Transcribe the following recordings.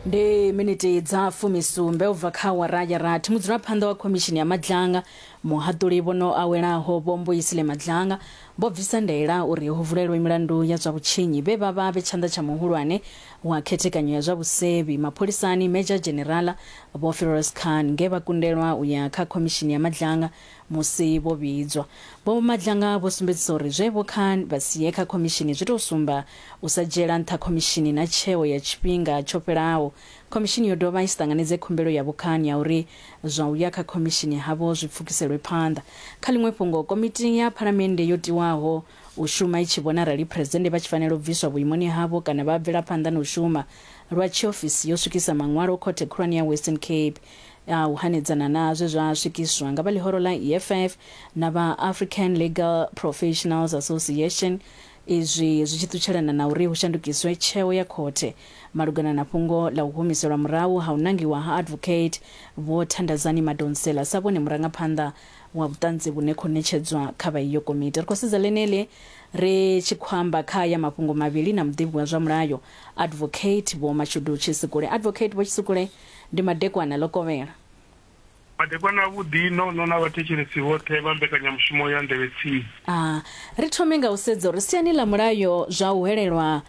Ndi miniti dza fumisumbe u bva kha awara ya rathi. Mudzulaphanḓa wa khomishini ya Madlanga, muhaṱuli vho no awelaho Vho Mbuyisile Madlanga, vho bvisa ndaela uri hu vulelwe milandu ya zwa vhutshinyi vhe vha vha vhe tshanḓa tsha muhulwane wa khethekanyo ya zwa vhusevhi mapholisani Major Dzhenerala Vho Firoz Khan nge vha kundelwa u ya kha khomishini ya Madlanga musi vho vhidzwa. Vho Madlanga vho sumbedzisa uri zwe Vho Khan vha si ye kha khomishini zwi tou sumba u sa dzhiela nṱha khomishini na tsheo ya tshifhinga tsho fhelaho. Khomishini yo dovha i si ṱanganedze khumbelo ya Vho Khan ya uri zwa u ya kha khomishini havho zwi pfukiselwe phanḓa. Kha ḽiṅwe fhungo, komiti ya phalamennde yo tiwaho u shuma i tshi vhona arali Phresidennde vha tshi fanela u bviswa vhuimoni havho kana vha bvela phanḓa na u shuma lwa tshiofisi yo swikisa maṅwalo Khothe Khulwane ya Western Cape a u hanedzana na zwe zwa swikiswa nga vha ḽihoro ḽa EFF na vha African Legal Professionals Association izwi zwi tshi ṱutshelana na uri hu shandukiswe tsheo ya khothe malugana na fhungo ḽa u humiselwa murahu ha u nangiwa ha Advocate Vho Thandazani Madonsela sa vhone murangaphanḓa wa vhuṱanzi vhune khou ṋetshedzwa kha vha iyo komiti. Ri khou sedza ḽeneḽi ri tshi khou amba kha aya mafhungo mavhili na muḓivhi wa zwa mulayo Advocate Vho Mashudu Tshisikule. Advocate Vho Tshisikule, ndi madekwana ḽo kovhela. Madekwana avhuḓi nono na vhathetshelesi vhoṱhe vha mbekanyamushumo ya Nḓevhe Tsini. A Ri thome nga u sedza uri siani ḽa mulayo zwa u hwelelwa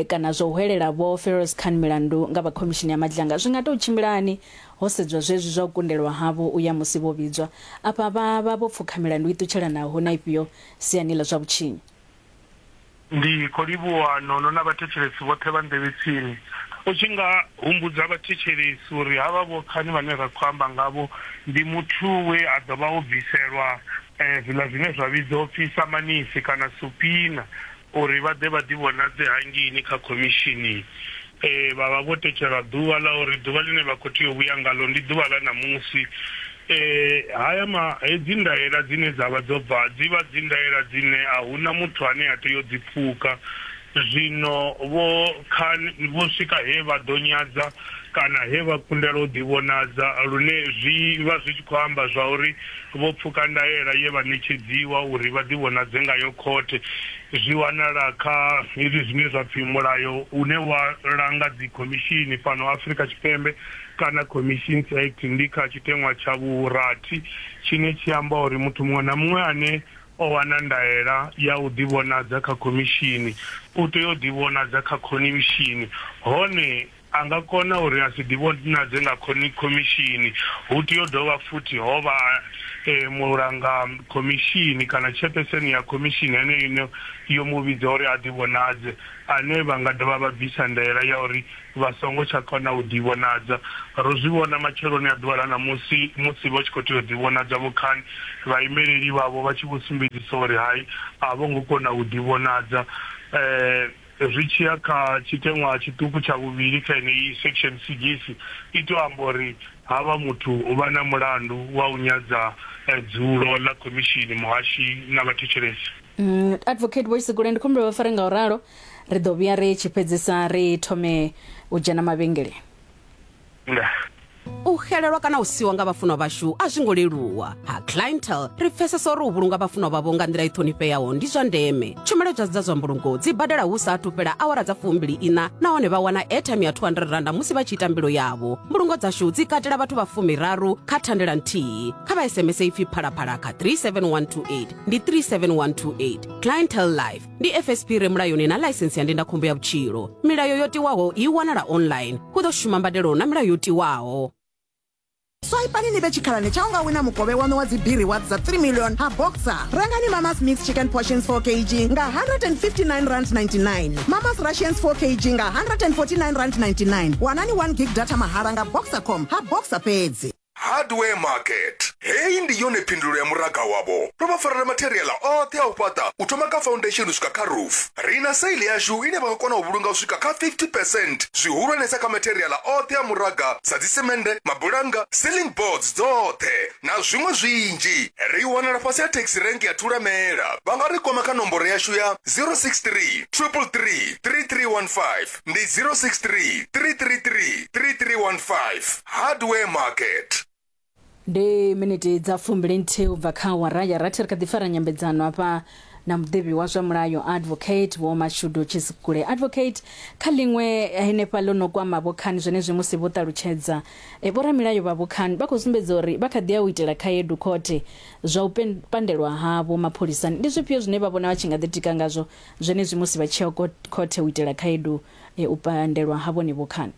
kana zwa u hwelela Vho Feroz Khan milandu nga vha Khomishini ya Madlanga zwi nga tou tshimbila hani ho sedzwa zwezwi zwa u kundelwa havho u ya musi vho vhidzwa. Afha vha vha vho pfukha milandu i ṱutshelanaho na ifhio siani ḽa zwa vhutshinyi? Ndi khou livhuwa Nono na vhathetshelesi vhoṱhe vha nḓevhe tsini. U tshi nga humbudza vhathetshelesi uri havha Vho Khani vhane ra khou amba ngavho ndi muthu we a ḓo vha o bviselwa zwiḽa zwine zwa vhidzwa u pfi samanisi kana supina uri vha ḓe vha ḓivhonadze hangeini kha khomishini. Vha vha vho tetshelwa ḓuvha ḽa uri ḓuvha ḽine vha khou tea u vhuya ngaḽo ndi ḓuvha ḽa ṋamusi. Haya ma, hedzi ndaela dzine dza vha dzo bva dzi vha dzi ndaela dzine a hu na muthu ane a tea u dzi pfuka. Zwino vho Khan vho swika he vha ḓo nyadza kana he vha kundelwa u ḓivhonadza lune zwi vha zwi tshi khou amba zwa uri vho pfuka ndaela ye vha ṋetshedziwa uri vha ḓivhonadze ngayo khothe. Zwi wanala kha hezwi zwine zwa pfi mulayo une wa langa dzikhomishini fhano Afrika Tshipembe kana Commissions Act ndi kha tshiteṅwa tsha vhurathi tshine tshi amba uri muthu muṅwe na muṅwe ane o wana ndaela ya u ḓivhonadza kha khomishini u tea u ḓivhonadza kha khonimishini hone a nga kona uri a si ḓivhonadze nga khomishini hu tea u dovha futhi ho vha mulanga khomishini kana chairperson ya khomishini heneyo ine yo mu vhidza uri a ḓivhonadze ane vha nga dovha vha bvisa ndaela ya uri vha songo tsha kona u ḓivhonadza. Ro zwi vhona matsheloni a ḓuvha ḽa ṋamusi musi vha tshi khou tea u ḓivhonadza Vho Khan, vhaimeleli vhavho vha tshi vho sumbedzisa uri hai, a vho ngo kona u ḓivhonadza. Zwi tshi ya kha tshiteṅwa tshiṱuku tsha vhuvhili kha yeneyi section sigisi, i tou amba uri havha muthu vha na mulandu wa u nyadza dzulo ḽa khomishini, muhashi na vhathetshelesi. Advocate Vho Tshisikule, ndi khou humbela vha fare nga u ralo, ri ḓo vhuya ri tshi fhedzisa ri thome u dzhena mavhengeleni. Ndaa. U xelelwa kana u siwa nga vhafunwa vhashu a zwi ngo leluwa. Ha Clientele ri pfesesa uri u vhulunga vhafunwa vhavho nga nḓila i ṱhonifheaho ndi zwa ndeme. Tshumelo dza dza zwa mbulungo dzi badela hu sa athu fhela awara dza fumbili iṋa nahone vha wana airtime ya R200 musi vha tshi ita mbilo yavho. Mbulungo dzashu dzi katela vhathu vha fumiraru kha thandela nthihi. Kha vha SMS ipfi Phalaphala kha 37128. Ndi 37128. Clientele Life ndi FSP re mulayoni na ḽaisensi ya ndindakhombo ya vhutshilo. Milayo yo tiwaho i wanala online. Hu ḓo shuma mbadelo na milayo yo tiwaho. Swaipani ni vhe tshikhalani tsha u nga wina mukovhe waṋu wa dzi B-Rewards dza 3 million ha Boxer. Rengani Mama's Mixed Chicken Portions 4 kg nga R159.99, Mama's Russians 4 kg nga R149.99. Wanani 1 gig data mahala nga Boxercom ha Boxer fhedzi. Hardware Market. Heyi ndi yone phindulo ya muraga wavho. Ro vha farela matheriaḽa oṱhe a u fhaṱa u thoma kha foundation u swika kha roof. Ri na sale yashu ine vha nga kona u vhulunga u swika kha 50 percent, zwihulwanesa kha matheriaḽa oṱhe a muraga sa dzisemende, mabulannga, ceiling boards dzoṱhe na zwiṅwe zwinzhi. Ri wanala fhasi ha taxi rank ya Thulamela. Vha nga ri kwama kha nomboro yashu ya 063 333 3315. Ndi 063 333 3315. Hardware Market. Ndi miniti dza fumbili nthihi u bva kha awara ya rathi. Ri kha ḓi fara nyambedzano hafha na muḓivhi wa zwa mulayo Advocate Vho Mashudu Tshisikule. Advocate, kha ḽiṅwe henefha ḽo no kwama Vho Khan zwenezwi musi vho ṱalutshedza e, vhoramilayo vha Vho Khan vha khou sumbedza uri vha kha ḓi ya u itela khaedu khothe zwa u pandelwa havho mapholisani. Ndi zwifhio zwine vha vhona vha tshi nga ḓitika ngazwo zwenezwi musi vha tshi ya khothe u itela khaedu e, u pandelwa ha vhone Vho Khan?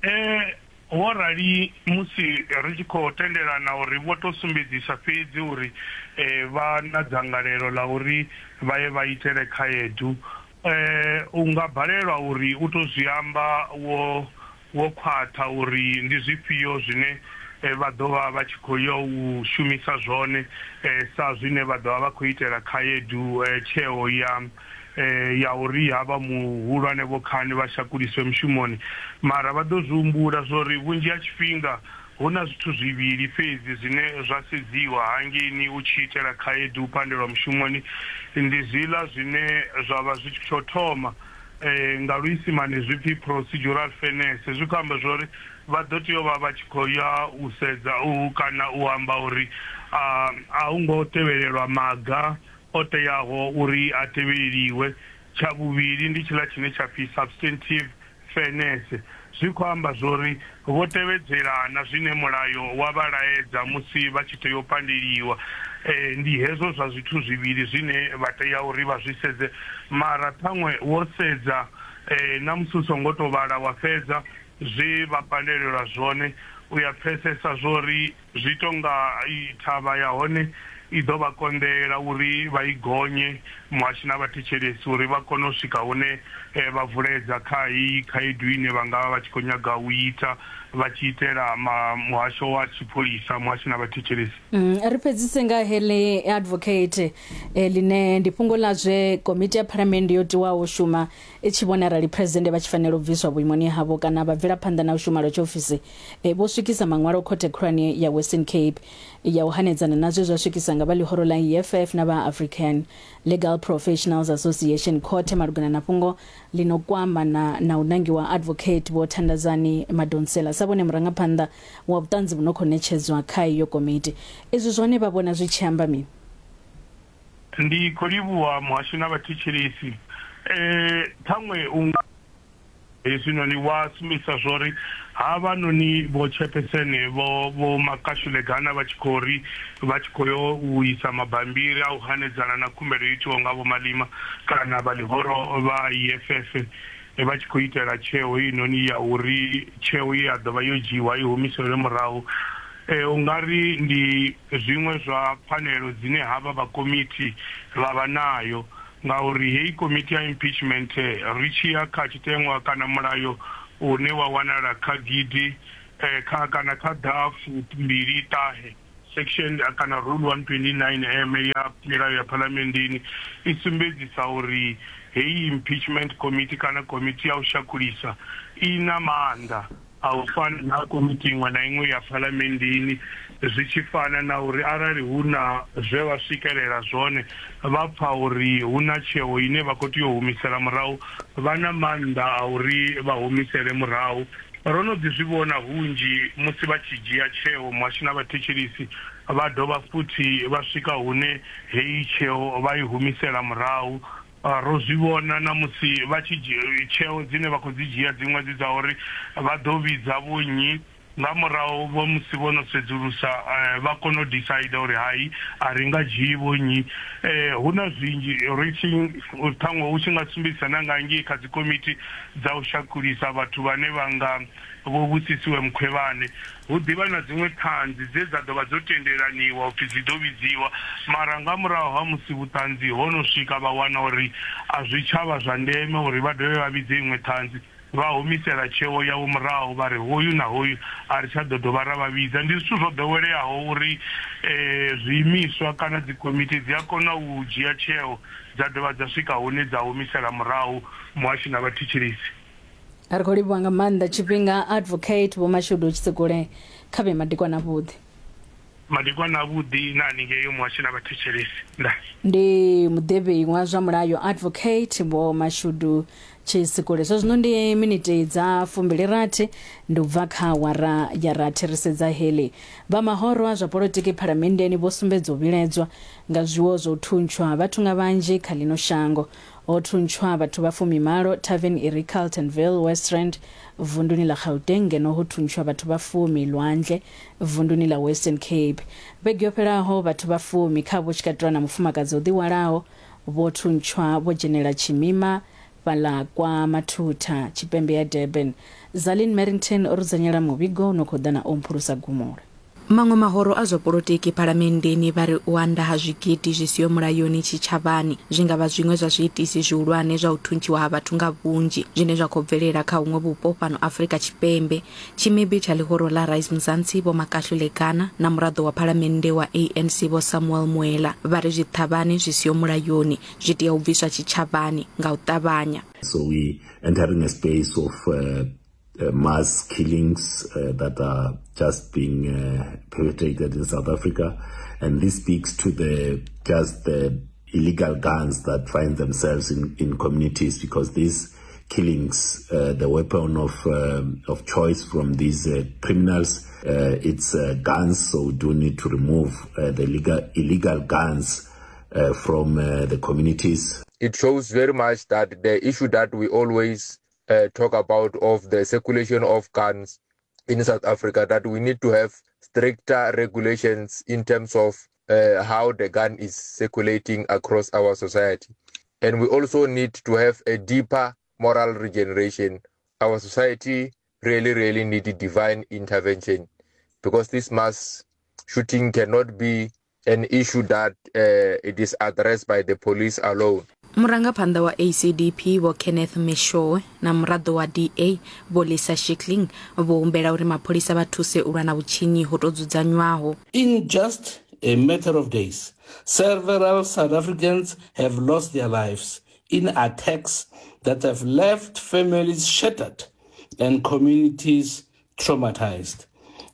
E, Wo rali musi ri tshi khou tendelana uri vho tou sumbedzisa fhedzi uri vha na dzangalelo ḽa uri vha ye vha itele khaedu, u nga balelwa uri u tou zwi amba wo wo khwaṱha uri ndi zwifhio zwine vha ḓo vha vha tshi khou yo u shumisa zwone sa zwine vha ḓo vha vha khou itela khaedu tsheo ya ya uri havha muhulwane Vho Khan vha shakuliswe mushumoni. Mara vha ḓo zwi humbula zwori vhunzhi ha tshifhinga hu na zwithu zwivhili fhedzi zwine zwa sedziwa hangeini u tshi itela khaedu u pandelwa mushumoni, ndi zwiḽa zwine zwa vha zwi tsho thoma nga luisimane zwi pfi procedural fairness. Zwi khou amba zwori vha ḓo tea u vha vha tshi khou ya u sedza u kana u amba uri a hu ngo tevhelelwa maga o teaho uri a tevheleliwe. Tsha vhuvhili ndi tshiḽa tshine tsha pfi substantive fairness. Zwi khou amba zwori vho tevhedzela na zwine mulayo wa vha laedza musi vha tshi tea u pandeliwa. Ndi hezwo zwa zwithu zwivhili zwine vha tea uri vha zwi sedze. Mara ṱhaṅwe wo sedza na musi u songo tou vhala wa fhedza zwe vha pandelelwa zwone, u ya pfesesa zwori Zwi tou nga thavha ya hone i ḓo vha konḓela uri vha i gonye, muhashi na vhathetshelesi uri vha kone u swika hune vha vuledza kha heyi khaedu ine vha nga vha vha tshi khou nyaga u ita vha tshi itela muhasho wa tshipholisa, muhashi na vhathetshelesi. Ri fhedzise nga heḽi, Advocate, ḽine ndi fhungo ḽa zwe komiti ya Phalamennde yo tiwaho u shuma i tshi vhona arali Phresidennde vha tshi fanela u bviswa vhuimoni havho kana vha bvela phanḓa na u shuma lwa tshiofisi. Vho swikisa maṅwalo khothe khulwane ya Western Cape ya u hanedzana na zwe zwa swikisa nga vha ḽihoro ḽa EFF na vha African Legal Professionals Association khothe malugana na fhungo ḽi no kwama na na u nangiwa Advocate Vho Thandazani Madonsela sa vhone murangaphanḓa wa vhuṱanzi vhu no khou ṋetshedzwa kha iyo komiti. Izwi zwone vha vhona zwi tshi amba mini? Ndi khou livhuwa muhasho na vhathetshelesi. Ṱhaṅwe u nga hezwinoni wa sumbedzisa zwori havhanoni vho chairperson vho vho Makashule Gana vha tshi khou ri vha tshi khou yo u isa mabambiri a u hanedzana na khumbelo yo itiwaho nga Vho Malima kana vha ḽihoro vha EFF vha tshi khou itela tsheo heinoni ya uri tsheo ye ya ḓo vha yo dzhiiwa i humiselwe murahu. U nga ri ndi zwiṅwe zwa pfanelo dzine havha vha komiti vha vha nayo ngauri heyi komiti ya impeachment ri tshi ya kha tshiteṅwa kana mulayo une wa wanala kha gidi kha kana kha ḓafu mbili ṱahe section kana rule 129 M ya milayo ya phalamenndeni i sumbedzisa uri heyi impeachment committee kana komiti ya u shakulisa i na maanḓa a u fana na komiti iṅwe na iṅwe ya phalamenndeni, zwi tshi fana na uri arali hu na zwe vha swikelela zwone vha pfa uri hu na tsheo ine vha khou tea u humisela murahu, vha na maanḓa a uri vha humisele murahu. Ro no ḓi zwi vhona hunzhi musi vha tshi dzhia tsheo, muhashi na vhathetshelesi vha dovha futhi vha swika hune heyi tsheo vha i humisela murahu. Ro zwi vhona na musi vha tshi tsheo dzine vha khou dzi dzhia dziṅwe dzi dza uri vha ḓo vhidza vhonnyi nga murahu vho musi vho no sedzulusa vha kona u decider uri hai a ri nga dzhii vhonnyi. Hu na zwinzhi ri tshi ṱhaṅwe u tshi nga sumbedzisa na nga ngei kha dzikomiti dza u shakulisa vhathu vhane vha nga Vho Busisiwe Mkhwebane. Hu ḓi vha na dziṅwe ṱhanzi dze dza ḓo vha dzo tendelaniwa u pfi dzi ḓo vhidziwa, mara nga murahu ha musi vhuṱanzi ho no swika vha wana uri a zwi tsha vha zwa ndeme uri vha dovhe vha vhidze iṅwe ṱhanzi, vha humisela tsheo yavho murahu vha ri hoyu na hoyu a ri tsha ḓo dovha ra vha vhidza. Ndi zwithu zwo ḓoweleaho uri zwiimiswa kana dzikomiti dzi a kona u dzhia tsheo dza dovha dza swika hune dza humisela murahu muhashi na vhathetshelesi. Ri khou livhuwa nga maanḓa tshifhinga Advocate Vho Mashudu Tshisekule, kha vhe madekwana avhuḓi. Madekwana avhuḓi na haningei muhashi na vhathetshelesi. Ndaa. Ndi muḓivhi wa zwa mulayo Advocate Vho Mashudu. Tshisikule. Zwa zwino ndi miniti dza 26 ndi u bva kha awara ya rathi. Ri sedza heḽi. Vha mahoro a zwa polotiki phalamenndeni vho sumbedza u vhiledzwa nga zwiwo zwa u thuntshwa ha vhathu nga vhanzhi kha ḽino shango. Ho thuntshwa vhathu vha 18 tavern i re Carltonville, West Rand, vunduni ḽa Gauteng ngeno ho thuntshwa vhathu vha fumi Lwandle, vunduni ḽa Western Cape. Vhege yo fhelaho, vhathu vha fumi, khavho hu tshi katelwa na mufumakadzi o ḓihwalaho, vho thuntshwa vho dzhenela tshimima fhaḽa kwa Mathutha, tshipembe ya Durban. Zalin Merrington o rudzanyela muvhigo u no khou ḓa na Omphulusa Gumula. Maṅwe mahoro a zwa polotiki phalamenndeni vha ri u anda ha zwigidi zwi siho mulayoni tshitshavhani zwi nga vha zwiṅwe zwa zwiitisi zwihulwane zwa u thuntshiwa ha vhathu nga vhunzhi zwine zwa khou bvelela kha huṅwe vhupo fhano Afrika Tshipembe. Tshimibi tsha ḽihoro ḽa Rise Mzansi Vho Makahlule Gana na muraḓo wa phalamennde wa ANC Vho Samuel Muela vha ri zwiṱhavhane zwi siho mulayoni zwi tea u bviswa tshitshavhani nga u ṱavhanya. So we entering a space of mass killings that are just being perpetrated in South Africa, and this speaks to the just the illegal guns that find themselves in communities, because these killings, the weapon of choice from these criminals, it's guns. So we do need to remove the illegal guns from the communities. It shows very much that the issue that we always talk about of the circulation of guns in South Africa, that we need to have stricter regulations in terms of how the gun is circulating across our society. And we also need to have a deeper moral regeneration. Our society really, really needs divine intervention, because this mass shooting cannot be an issue that it is addressed by the police alone. Murangaphanḓa wa ACDP Vho Kenneth Meshoe na muraḓo wa DA Vho Lisa Shikling vho humbela uri mapholisa vha thuse u lwa na vhutshinyi ho tou dzudzanywaho. In just a matter of days, several South Africans have lost their lives in attacks that have left families shattered and communities traumatized.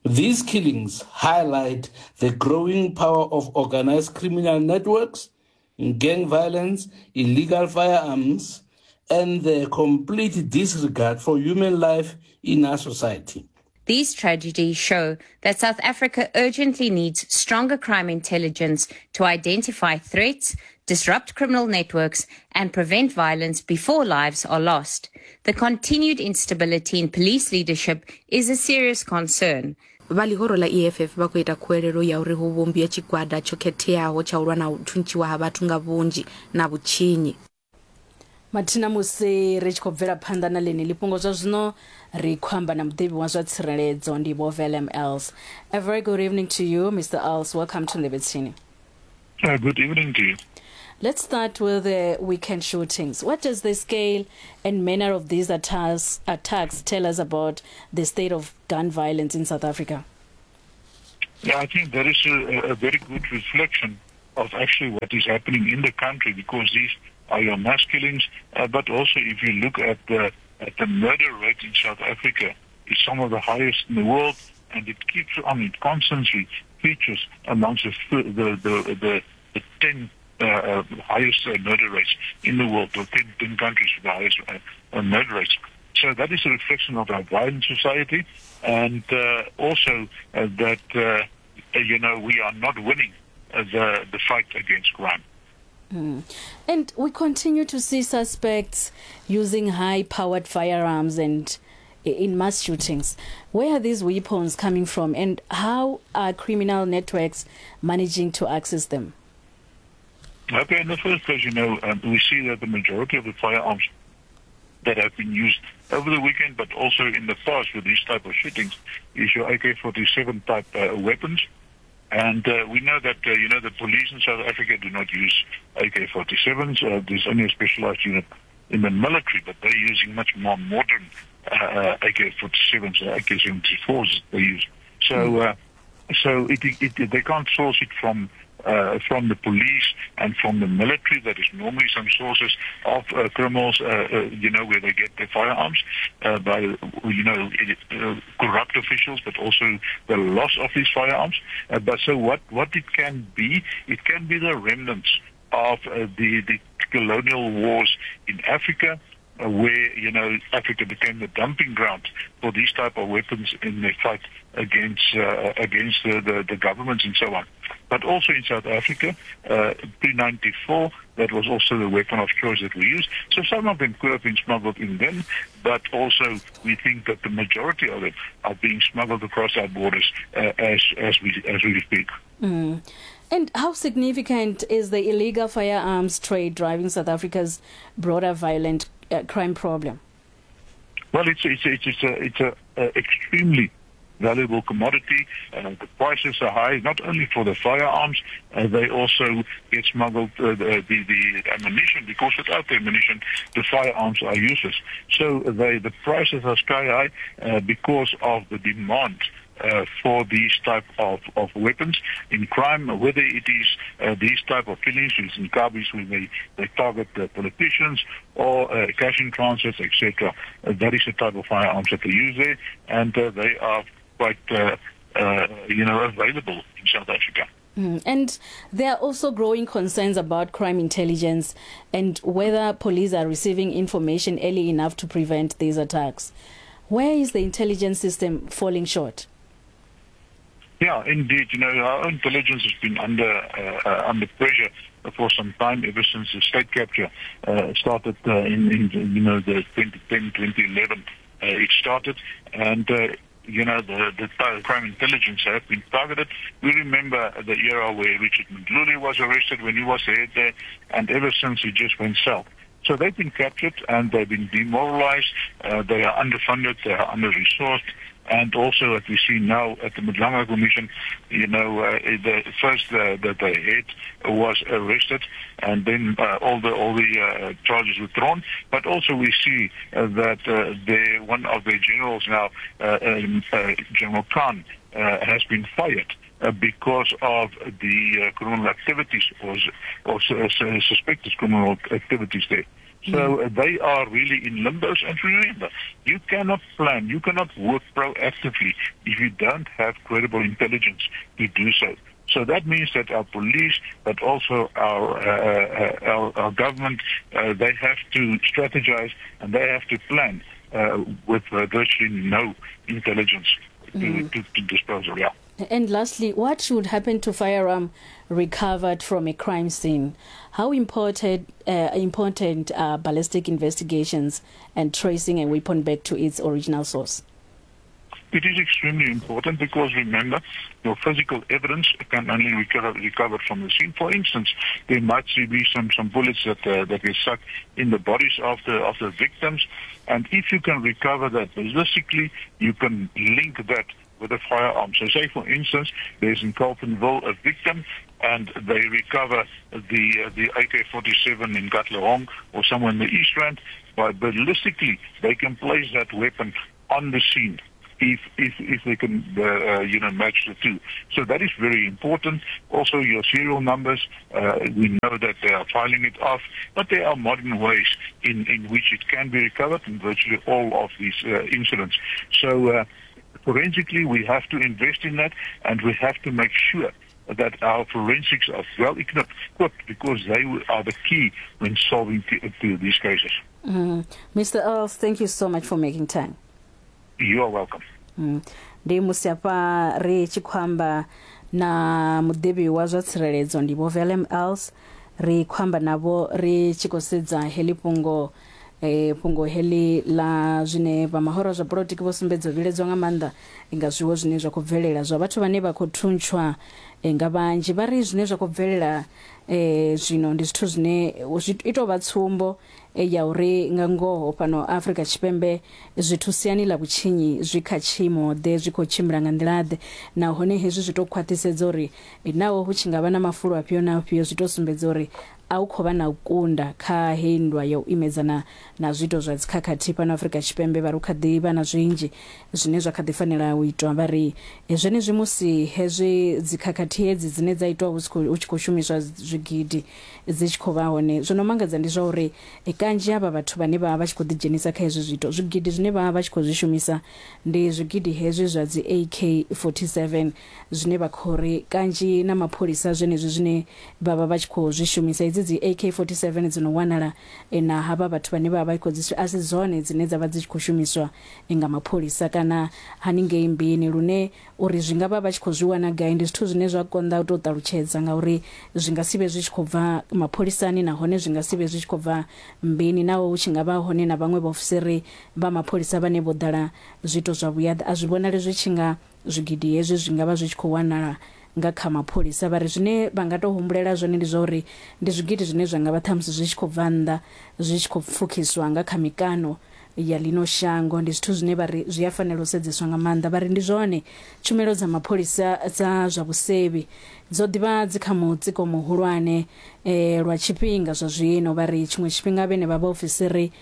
These killings highlight the growing power of organized criminal networks, gang violence, illegal firearms, and the complete disregard for human life in our society. These tragedies show that South Africa urgently needs stronger crime intelligence to identify threats, disrupt criminal networks, and prevent violence before lives are lost. The continued instability in police leadership is a serious concern. Vha ḽihoro ḽa EFF vha khou ita khuwelelo ya uri hu vhumbiwe tshigwada tsho khetheaho tsha u lwa na u thuntshiwa ha vhathu nga vhunzhi na vhutshinyi. Mathina musi ri tshi khou bvela phanḓa na ḽeneḽi fhungo zwa zwino ri khou amba na muḓivhi wa zwa tsireledzo ndi Vho Willem Els. A very good evening to you, Mr. Els. Welcome to Nḓevhe Tsini. Good evening to you. Let's start with the weekend shootings. What does the scale and manner of these attacks tell us about the state of gun violence in South Africa? Yeah, I think that is a very good reflection of actually what is happening in the country, because these are your mass killings, but also if you look at the murder rate in South Africa, it's some of the highest in the world, and it keeps on, it constantly features amongst the 10 highest murder rates in the world, or 10 countries with the highest murder rates. So that is a reflection of our violent society, and also that you know, we are not winning the fight against crime. Mm. And we continue to see suspects using high-powered firearms and in mass shootings. Where are these weapons coming from, and how are criminal networks managing to access them? Okay, in the first place, you know, we see that the majority of the firearms that have been used over the weekend, but also in the past with these type of shootings, is your AK-47 type weapons. And we know that, you know, the police in South Africa do not use AK-47s. There's only a specialized unit in the military, but they're using much more modern AK-47s and AK-74s they use. So, so they can't source it from the police and from the military. That is normally some sources of criminals, you know, where they get their firearms by, you know, corrupt officials, but also the loss of these firearms. But so what it can be the remnants of the colonial wars in Africa, where, you know, Africa became the dumping ground for these type of weapons in their fight against against the, the, the governments and so on. But also in South Africa, pre-94, that was also the weapon of choice that we used. So some of them could have been smuggled in then, but also we think that the majority of them are being smuggled across our borders as, as, we, as we speak. Mm. And how significant is the illegal firearms trade driving South Africa's broader violent crime problem? Well, it's it's it's, it's a it's a, a extremely valuable commodity. The prices are high, not only for the firearms, they also get smuggled the, the, the ammunition, because without the ammunition, the firearms are useless. So they, the prices are sky high because of the demand for these type of, of weapons in crime, whether it is these type of killings, which in Kabis when they, they target the politicians, or cash in transfers, etc. That is the type of firearms that they use there, and they are quite, you know, available in South Africa. And there are also growing concerns about crime intelligence and whether police are receiving information early enough to prevent these attacks. Where is the intelligence system falling short? Yeah, indeed. You know, our intelligence has been under under pressure for some time, ever since the state capture started in, in, you know, the 2010, 2011. It started, and you know, the, the crime intelligence have been targeted. We remember the era where Richard Mdluli was arrested when he was head there, and ever since he just went south. So they've been captured and they've been demoralized. They are underfunded, they are under-resourced. And also, what we see now at the Madlanga Commission, you know, the first that the head was arrested, and then all the all the charges withdrawn. But also, we see that the one of the generals now, General Khan, has been fired because of the criminal activities or, or suspected criminal activities there. So they are really in limbos. And remember, you cannot plan, you cannot work proactively if you don't have credible intelligence to do so. So that means that our police, but also our our, our government, they have to strategize and they have to plan with virtually no intelligence to, to, to disposal. Yeah. And lastly, what should happen to firearm recovered from a crime scene? How important, important are ballistic investigations and tracing a weapon back to its original source? It is extremely important because, remember, your physical evidence can only recover, recover from the scene. For instance, there might be some, some bullets that, that were stuck in the bodies of the, of the victims. And if you can recover that ballistically, you can link that with a firearm. So say, for instance, there's in Carltonville a victim and they recover the, the AK-47 in Katlehong or somewhere in the East Rand. By ballistically, they can place that weapon on the scene if if if they can you know match the two. So that is very important. Also, your serial numbers, we know that they are filing it off, but there are modern ways in in which it can be recovered in virtually all of these incidents. So forensically, we have to invest in that, and we have to make sure that our forensics are well equipped because they are the key when solving these cases. Mr. Earls, thank you so much for making time. You are welcome. Ndi musi hafha ri tshi khou amba na muḓivhi wa zwa tsireledzo ndi Vho Willem Els ri khou amba navho ri tshi khou sedza heḽi fhungo eh, fhungo heḽi ḽa zwine vha mahoro a zwa polotiki vho sumbedza u vhiledzwa nga maanḓa nga zwiwo zwine zwa khou bvelela zwa vhathu vhane vha khou thuntshwa eh, nga vhanzhi vha ri zwine zwa khou bvelela eh, zwino ndi zwithu zwine zwi i tou vha tsumbo ya uri nga ngoho fhano Afrika Tshipembe zwithu siani ḽa vhutshinyi zwi kha tshiimo ḓe, zwi khou tshimbila nga nḓila ḓe, nahone hezwi zwi tou khwaṱhisedza uri naho hu tshi nga vha na mafulo afhio na afhio zwi tou sumbedza uri a hu khou vha na u kunda kha heyi nndwa ya u imedzana na zwiito zwa dzikhakhathi fhano Afrika Tshipembe. Vha ri hu kha ḓi vha na zwinzhi zwine zwa kha ḓi fanela u itwa. Vha ri zwenezwi musi hezwi dzikhakhathi hedzi dzine dza itwa hu tshi khou shumiswa zwigidi dzi tshi khou vha hone. Zwo no mangadza ndi zwa uri kanzhi havha vhathu vhane vha vha vha tshi khou ḓidzhenisa kha hezwi zwiito, zwigidi zwine vha vha vha tshi khou zwi shumisa ndi zwigidi hezwi zwa dzi AK-47 zwine vha khou ri kanzhi na mapholisa zwenezwi zwine vha vha vha tshi khou zwi shumisa. Hedzi hedzi dzi AK47 dzi no wanala na havha vhathu vhane vha vha khou dzi a si dzone dzine dza vha dzi tshi khou shumiswa nga mapholisa kana haningei mbini, lune uri zwi nga vha vha tshi khou zwi wana gai ndi zwithu zwine zwa konḓa u tou ṱalutshedza ngauri zwi nga si vhe zwi tshi khou bva mapholisani nahone zwi nga si vhe zwi tshi khou bva mbini, naho hu tshi nga vha hone na vhaṅwe vhaofisiri vha mapholisa vhane vho ḓala zwiito zwa vhuyaḓa. A zwi vhonali zwi tshi nga zwigidi hezwi zwi nga vha zwi tshi khou wanala nga kha mapholisa. Vha ri zwine vha nga tou humbulela zwone ndi zwa uri ndi zwigidi zwine zwa nga vha ṱhamusi zwi tshi khou bva nnḓa zwi tshi khou pfukhiswa nga kha mikano ya ḽino shango. Ndi zwithu zwine vha ri zwi a fanela u sedzeswa nga maanḓa. Vha ri ndi zwone tshumelo dza mapholisa dza zwa vhusevhi dzo ḓivha dzi kha mutsiko muhulwane lwa tshifhinga zwa zwino. Vha ri tshiṅwe tshifhinga vhene vha vhaofisiri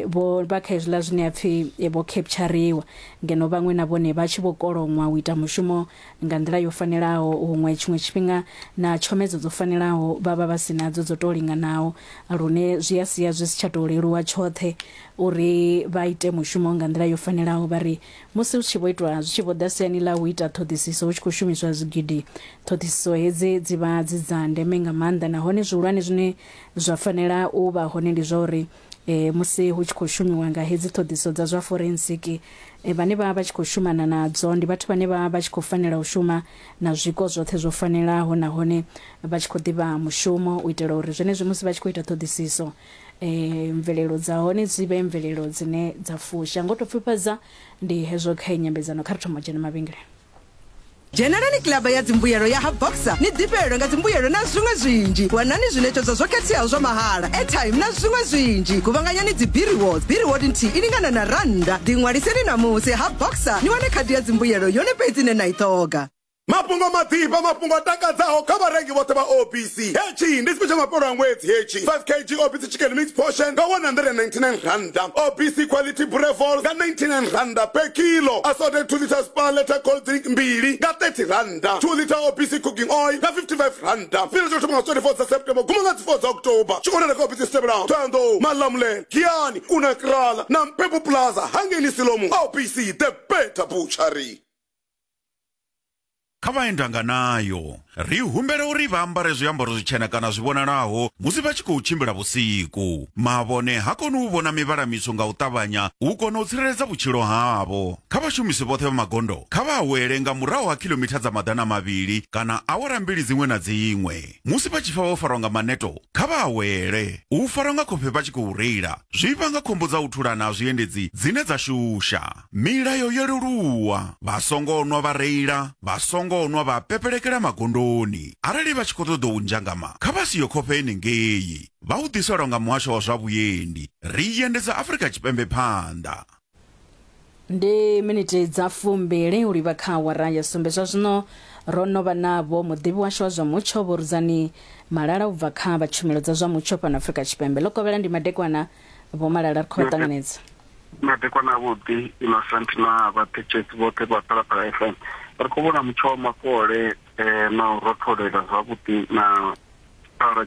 vho vha kha hezwiḽa zwine ha pfhi vho capturiwa, ngeno vhaṅwe na vhone vha tshi vho koloṅwa u ita mushumo nga nḓila yo fanelaho. Huṅwe tshiṅwe tshifhinga na tshomedzo dzo fanelaho vha vha vha si nadzo dzo tou linganaho, lune zwi a sia zwi si tsha tou leluwa tshoṱhe uri vha ite mushumo nga nḓila yo fanelaho. Vha ri musi hu tshi vho itwa zwi tshi vho ḓa siani ḽa u ita ṱhoḓisiso hu tshi khou shumiswa zwigidi, ṱhoḓisiso hedzi dzi vha dzi dza ndeme nga maanḓa, nahone zwihulwane zwine zwa fanela u vha hone ndi zwa uri musi hu tshi khou shumiwa nga hedzi ṱhoḓisiso dza zwa forensiki, vhane vha vha tshi khou shumana nadzo ndi vhathu vhane vha vha tshi khou fanela u shuma na zwiko zwoṱhe zwo fanelaho nahone vha tshi khou ḓivha mushumo, u itela uri zwenezwi musi vha tshi khou ita ṱhoḓisiso mvelelo dza hone dzi vhe mvelelo dzine dza fusha. Ngo tou pfufhadza ndi hezwo kha nyambedzano, kha ri thoma u dzhena mavhengeleni. Dzhenelani kilaba ya dzimbuyelo ya ha Boxer ni ḓifhelwe nga dzimbuyelo na zwiṅwe zwinzhi. Wanani zwiṋetshedzwa zwo khetheaho zwa mahala, airtime na zwiṅwe zwinzhi. Kuvhanganyani dzi B-rewards, B-reward nthihi i lingana na rannda. Ḓiṅwaliseni ṋamusi ha Boxer ni wane khadi ya dzimbuyelo yone fhedzi ine na i ṱhoga. Mafhungo maḓifha, mafhungo a takadzaho kha vharengi vhoṱhe vha OBC. Hetshi ndi tshifhinga tsha mafhelo a ṅwedzi hetshi. 5 kg OBC chicken mix portion nga R199. OBC quality boerewors nga R99 per kilo. Assorted 2 litre Spar liter cold drink mbili nga R30. 2 litre OBC cooking oil nga R55. Fhira tsho thoma nga 24 dza September guma nga dzi 4 dza October. Tshi konela kha OBC Stebelaho, Thohoyandou, Malamulele, Giyani, Unakrala na Mphephu Plaza hangeini Silomu. OBC the better butchery. Kha vhaendanganayo, ri humbela uri vha ambare zwiambaro zwitshena kana zwi vhonalaho musi vha tshi khou tshimbila vhusiku. Mavhone ha koni u vhona mivhala mitswu nga u ṱavhanya u kona u tsireledza vhutshilo havho. Kha vhashumisi vhoṱhe vha magondo, kha vha awele nga murahu ha khilomitha dza 200 kana awara mbili dziṅwe na dziṅwe. Musi vha tshi pfa vho farwa nga maneto, kha vha awele. U farwa nga khofhe vha tshi khou reila zwi vhanga khombo dza u thulana ha zwiendedzi dzine dza shusha. Milayo yo leluwa, vha songo nwa vha reila, vha songo nwa vha pepelekela magondoni. Arali vha tshi khou ṱoḓa u nzhangama, kha vha siye khofhe henengei. Vha u ḓiselwa nga Muhasho wa zwa Vhuendi. Ri endedza Afrika Tshipembe phanḓa. Ndi miniti dza fumbili u livha kha awara ya sumbe. Zwa zwino ro no vha navho muḓivhi washu wa zwa mutsho Vho Rudzani Malala u bva kha vha tshumelo dza zwa mutsho fhano Afrika Tshipembe. Ḽo kovhela ndi madekwana Vho Malala, ri khou vha ṱanganedza. Madekwana avhuḓi Innocent na vhathetshelesi vhoṱhe vha Phalaphala FM. Ri khou vhona mutsho wa makole na u rotholela zwavhuḓi na tshikhala.